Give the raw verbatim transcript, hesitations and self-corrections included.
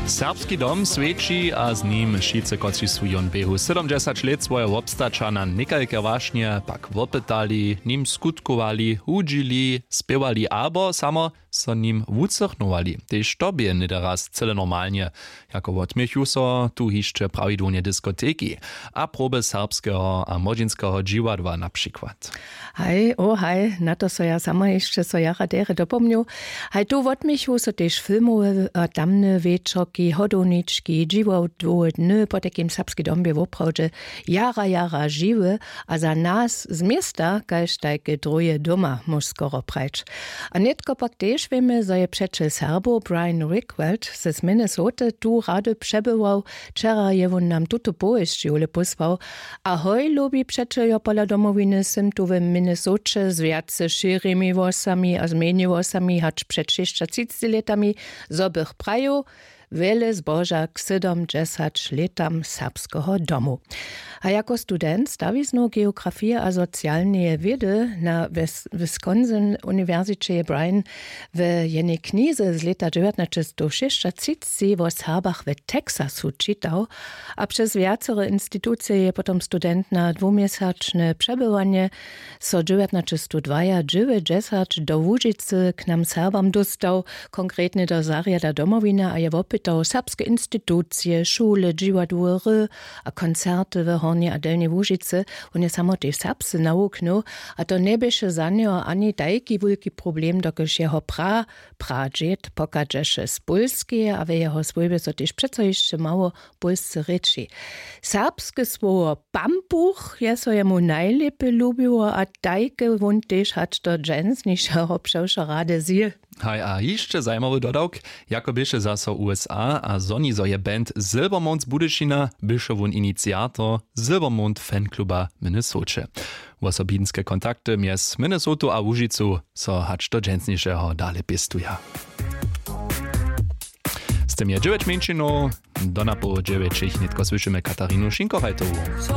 Serbski dom swjeći a z nim wšitcy, kotřiž su jón běhu sydomdźesać lět swojeho wobstaća na někalke wašnje pak wopytali, nim skutkowali, hudźili, spěwali abo samo so nim wucychnowali, tež to bě něhdy raz cyle normalnje, jako wotměchu so tu hišće prawidłownje diskoteki a proby serbskeho a młodźinskeho dźiwadła na přikład. Haj, o haj, na to so ja sama hišće so jara derje dopomnju. Haj, tu wotměchu so tež filmowe a tamne wječorki, hodownički, dźiwadłowe dny, potajkim serbski dom bě woprawdźe jara jara žiwy. A za nas z města kaž tajke druhe doma, móž skoro prajć. A nětko pak tež wěmy, zo je přećel Serbow Brian Rickweld z Minnesoty tu rady přebywał. Wčera je wón nam tutu powěsć jule pósłał. A hoj lubi přećeljo, pola domowiny sym tu w Minnesoće z wjace šěrimi włosami a z mjenje włosami hač před šěsćatřicci lětami, zo bych prajił, wjele zboža k sydomdźesać lětam serbskeho domu. A jako student stawiznow geografije a socialneje wědy na Wisconsin uniwersiće je Brian w jenej knize z lěta dźewjatnaćestowšěsćatřicci wo Serbach w Texasu čitał. A přez wjacore institucije je potom student na dwuměsačne přebywanje so dźewjatnaćestowdwajadźewjećdźesać do Łužicy k nam Serbam dóstał, konkretnje do zarjada Domowiny, a je wopytał serbske institucije, šule, dźiwadłowe hry a koncerty w Hornjej a Delnjej Łužicy. Wón je samo tež serbsce nawuknył, a to njeběše za njeho ani tajki wulki problem, dokelž jeho pra pradźěd pochadźeše z Pólskeje a w jeho swójbje so tež přeco hišće mało w Pólsce rěči. Serbske słowo pampuch je so jemu najlěpje lubiło a tajke wón tež hač do dźensnišeho přewšo rady zjě. Haj, a hišće zajimawy dodawk, jako běše zaso U S A a zhoni, zo je band Silvermount z Budyšina, běše wón iniciator Silvermount fankluba w Minnesoće. Wosobinske kontakty mjez Minnesotu a Łužicu so hač do dźensnišeho dale pěstuja. Z tym je dźewjeć mjeńšinow. Do napoł dźewjećich nětko słyšimy Katarinu Šinkochajtowu.